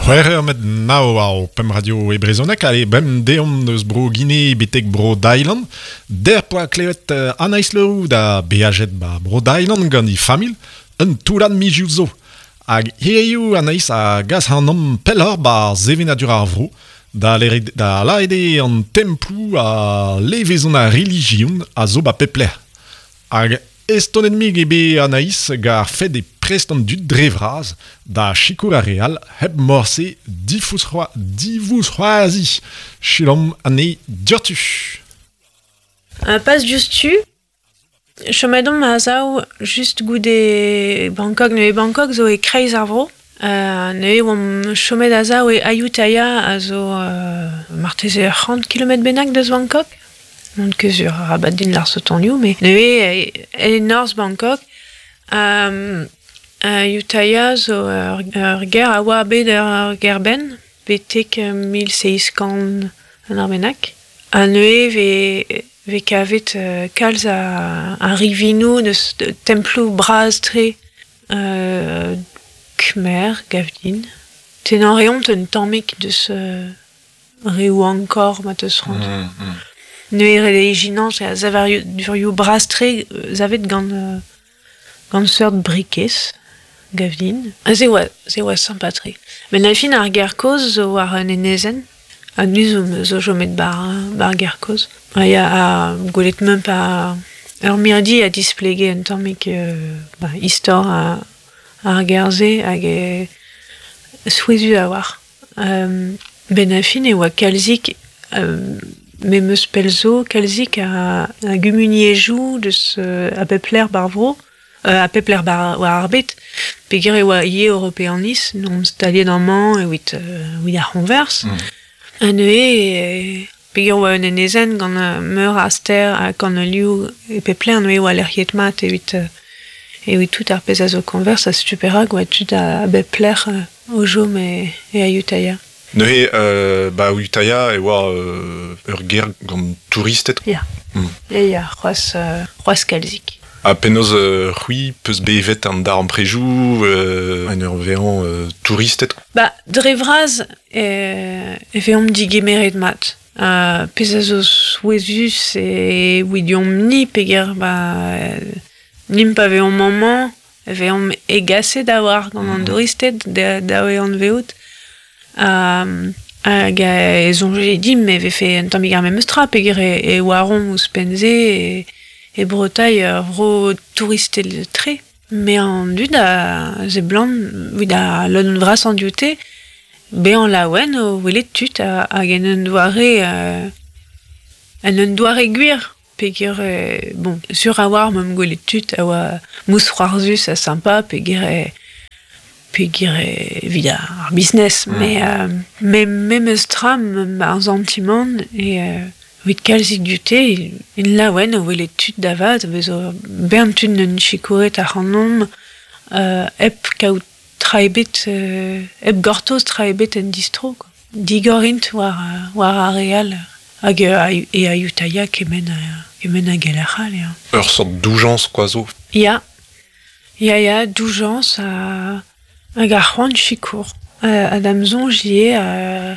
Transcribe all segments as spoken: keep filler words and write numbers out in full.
C'hwec'h eur met nav ar pemp radio e brezhoneg, ale bem deomp eus bro Guinée betek bro Dailand. Der poa klevet uh, Anaïs Leroux da beajet ba bro Dailand gant i famil, un toullad mizioù zo. Hag hiziv Anaïs a gas ac'hanomp pelloc'h ba sevenadur ar vro, da lere, da laede an temploù a levezon ar relijion a zo ba pep lec'h. Hag estonet mig eo bet Anaïs gar fed e prest an dud dre vras da sikour ar re all hep morse difouz c'hoa, divouz c'hoazi. Selaomp anezhi dioc'htu. Uh, pas diouzhtu. Chomet omp a-sav just goude Bangkok. Neuze Bangkok zo e kreiz ar vro. Uh, neuze oamp chomet a-sav e Ayutthaya a zo uh, marteze ur c'hant kilometr bennak deus Bangkok. N'on ket sur arabat din lâr sotonioù, met neuze e, e norzh Bangkok. Um, Ayutthaya zo ur, ur gêr a oa bet ur gêr-benn betek mil seizh kant an ar bennak. Ha neuze ve, ve kavet uh, kalz a, a rivinoù deus temploù bras-tre uh, Khmer, gav din. Tennañ reont un tammig deus uh, reoù Angkor ma teus c'hoant. Mm, mm. Neuze ret eo ijinañ a savadurioù bras-tre savet gant, uh, gant seurt brikez, gav din. Ha se oa, se oa sympa-tre. Met a fin ar gêr kozh zo war un enezenn. Ha nu zo, zo chomet bar, bar gêr kozh. Ha ya, ha gwelet meump a ur mirdi a displege un tammig euh, ba, istor a, ar gêr-se hag e souezhus a-walc'h. Um, ben a fin e oa kalzik euh, me meus pell zo kalzik a, a gumuniezhioù deus euh, a bep lec'h bar vro, euh, a pep lec'h bar, war ar bed. Peogwir e oa ivez europeaniz, n'omp staliet amañ evit, euh, evit ar c'hoñvers. Mm. Ha neuze, e, peogwir oa un enezenn gant meur a stêr ha kanolioù e pep lec'h, neuze e oa lec'hiet mat evit, euh, evit tout ar pezh a zo koñvers, ha setu perak oa tud a, a bep lec'h euh, o chom e, e Ayutthaya. Neuze, euh, ba Ayutthaya e oa euh, ur gêr gant touristed. Ya. Mm. Ya, ya, c'hoazh, euh, c'hoazh kalzik. Ha penaos euh, c'hwi peus bevet an darempredoù euh, en ur vezañ euh, touristed? Ba, dre vras e, e veomp digemeret mat. Uh, pezh a zo souezhus e evidomp-ni peogwir ba, nimp pa veomp amañ, e veomp hegaset a-walc'h gant an Mm. douristed da, da e anveout. Um, hag e soñje dimp e vefe un tammig ar memes tra peogwir e, e oaromp ouzhpenn-se e, e Bretagne ur vro touristel tre. Met an dud a seblant evit a lodenn vras an dioute, bezañ laouen o welet tud a, hag en un doare euh, en un doare gwir. Peogwir, euh, bon, sur a oar meump gwelet tud a oa mousc'hoarzhus ha sympa peogwir e, peogwir evit ar business. Mm. Mais, euh, mais memes tra ar santimant e euh, evit kalzik dioute, in laouen o welet tud da vat, bezo bern tud n'eus sikouret ac'hanomp euh, hep kaout tra ebet, euh, hep gortoz tra ebet en distro, quoi. Digor int war, war ar re all hag euh, e Ayutthaya kement, kement hag e lec'h all, ya. Ur sort doujañs kwa zo. Ya. Ya, ya, doujañs ha, hag ar c'hoant sikour. Uh, ha da'm soñj ivez euh,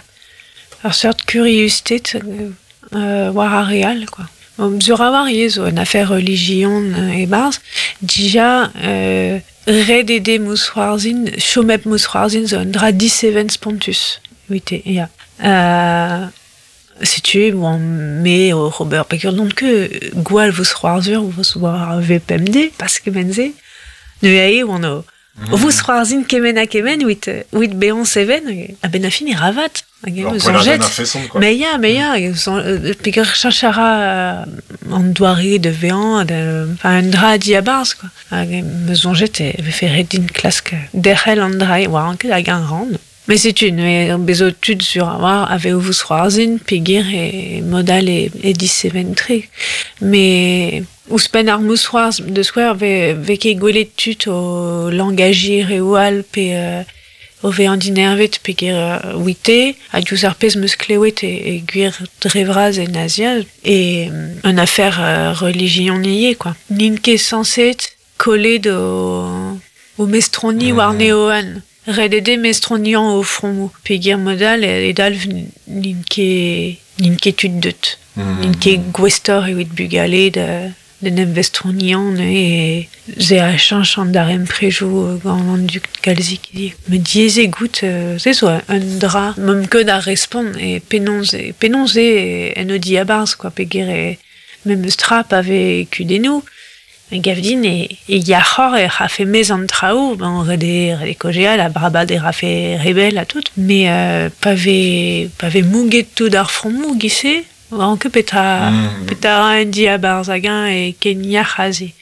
ur seurt kuriusted euh, war ar re all, quoi. Bon, sur a war ivez zo un affaire relijion e-barzh. Dija, euh, ret eo dezhe mousc'hoarzhin, chom hep mousc'hoarzhin zo un dra diseven spontus. Evite, ya. Euh, setu, bon, me o ober peogwir n'on ket gwall vousc'hoarzhur war V P M D, pas kement-se. Neuze eo oan o Mm. O vousc'hoarzhin kement ha kement evit, evit bezañ seven, a-benn ar fin e ravat. Hag Ur eus poelladenn soñjet. a-feson, quoi. Mais ya, mais ya, hag eus euh, peogwir cheñch a ra an doare de vezañ, de, enfin, un dra diabarzh, quoi. Hag em eus soñjet e vefe ret din klask derc'hel an dra, war an ket hag an ran. Mais setu, neuze bezo tud sur a war a vez o vousc'hoarzhin peogwir e mod all e, e diseven-tre. Mais ouzhpenn ar mousc'hoarzh da skouer ve, ve ket gwelet tud o langajiñ reoù all pe euh, o vezañ dinervet peogwir euh, ouite, ha diouzh ar pezh 'm eus klewet e, e gwir dre vras en Azia, e un affaire euh, relijion ivez, quoi. N'int ket sañset kollet o, o mestroni Mm. war neo an. Red ede mestroniañ o fromoù. Peogwir modal e dalv n'int ket n'int ket tud deut. Mm. N'int ket gouestoc'h evit bugale da d'en em vestroniañ e ze a cheñch an daremprejoù gant an dud kalzik. Me diaes goût se zo un dra ma'm ket da respont e penaos e penaos e en o diabarzh quoi peogwir e memes tra pa vez kudennoù. Me gav din e, e yac'hor e rafe mez an traoù, ben ret eo ret eo kaozeal ha brabad e rafe rebel ha tout, mais euh, pa vez pa vez mouget tout ar fromoù giz-se, oan ket petra mm. petra ra en diabarzh hag-eñ e ken yac'h aze.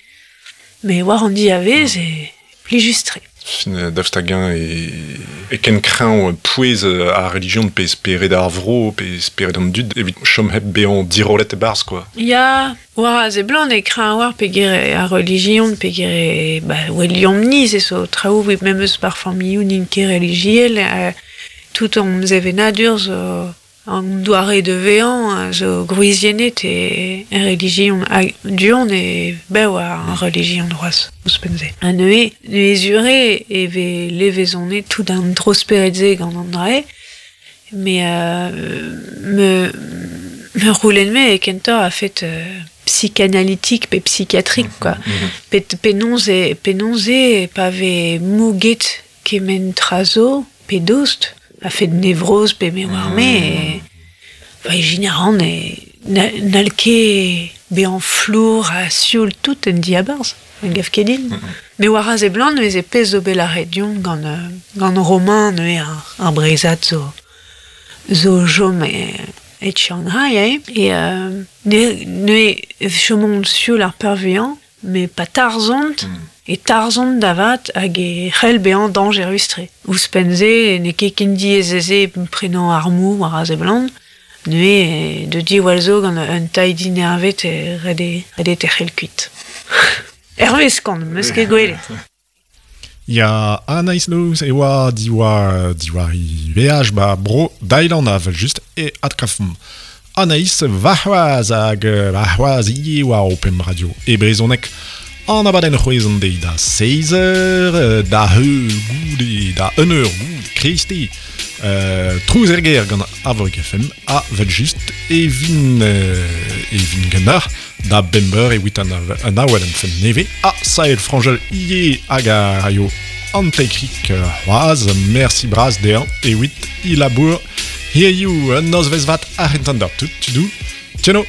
Mais war an diavez e plijus-tre. Fin daoust hag-eñ e, e ken kreñv pouez ar relijion pe spered ar vro pe spered an dud evit chom hep bezañ dirollet e-barzh quoi. Ya, war a seblant e kreñv war peogwir ar relijion peogwir e ba weliomp-ni se zo traoù memes bar familhoù n'int ket relijiel euh, tout an sevenadur zo an doare de vezañ zo gwriziennet e e relijion hag du-hont e bev ar relijion c'hoazh ouzhpenn-se. Ha neuze, neuze zure e vez levezonet tout an tro-spered-se gant an dra-se, mais euh, me me roulen-me e kentoc'h a fet euh, psychanalytique pe psychiatrique quoi. Mm-hmm. Pe penaos e penaos e pa vez mouget kement tra zo pe dost a fet nevroz pe me oar me e ba ijin a ran e n'hall ket bezañ flour ha sioul tout en diabarzh en gav ket din. Me war a seblant neuze pezh zo bet lâret deomp gant gant Romain neuze ar, ar Breizhad zo zo chom e, e Shanghai eh? E euh, ne, ne chomont sioul ar peurvuiañ mais pa tarzhont mm. e tarzhont da vat hag e c'hell bezañ dañjerus-tre. Ouzhpenn-se n'eo ket ken diaes se prenañ armoù war a seblant neuze de diwall zo gant un tailh dinervet e ret eo ret eo tec'hel kuit. Hervez kont, 'meus ket gwelet. Ya Anaïs Louz e oa diwar diwar he veaj ba bro Dailand avel just e adkafomp. Anaïs warc'hoazh hag warc'hoazh ivez war o pemp radio e brezhoneg. An abadenn c'hwezh an deiz da seizh eur, da heul goude, da un eur goude kreisteiz. Euh, trouz er gêr gant Arvorig F M ha vel just e vin, euh, e vin ganeoc'h da bemp eur evit an, an awel en fen nevez ha Saël Franjel ivez hag a raio an tekrik c'hoazh. Merci bras dezhañ evit e labour hiziv un nozvezh vat ar c'hentañ d'ar tout, tudou. Tcheno!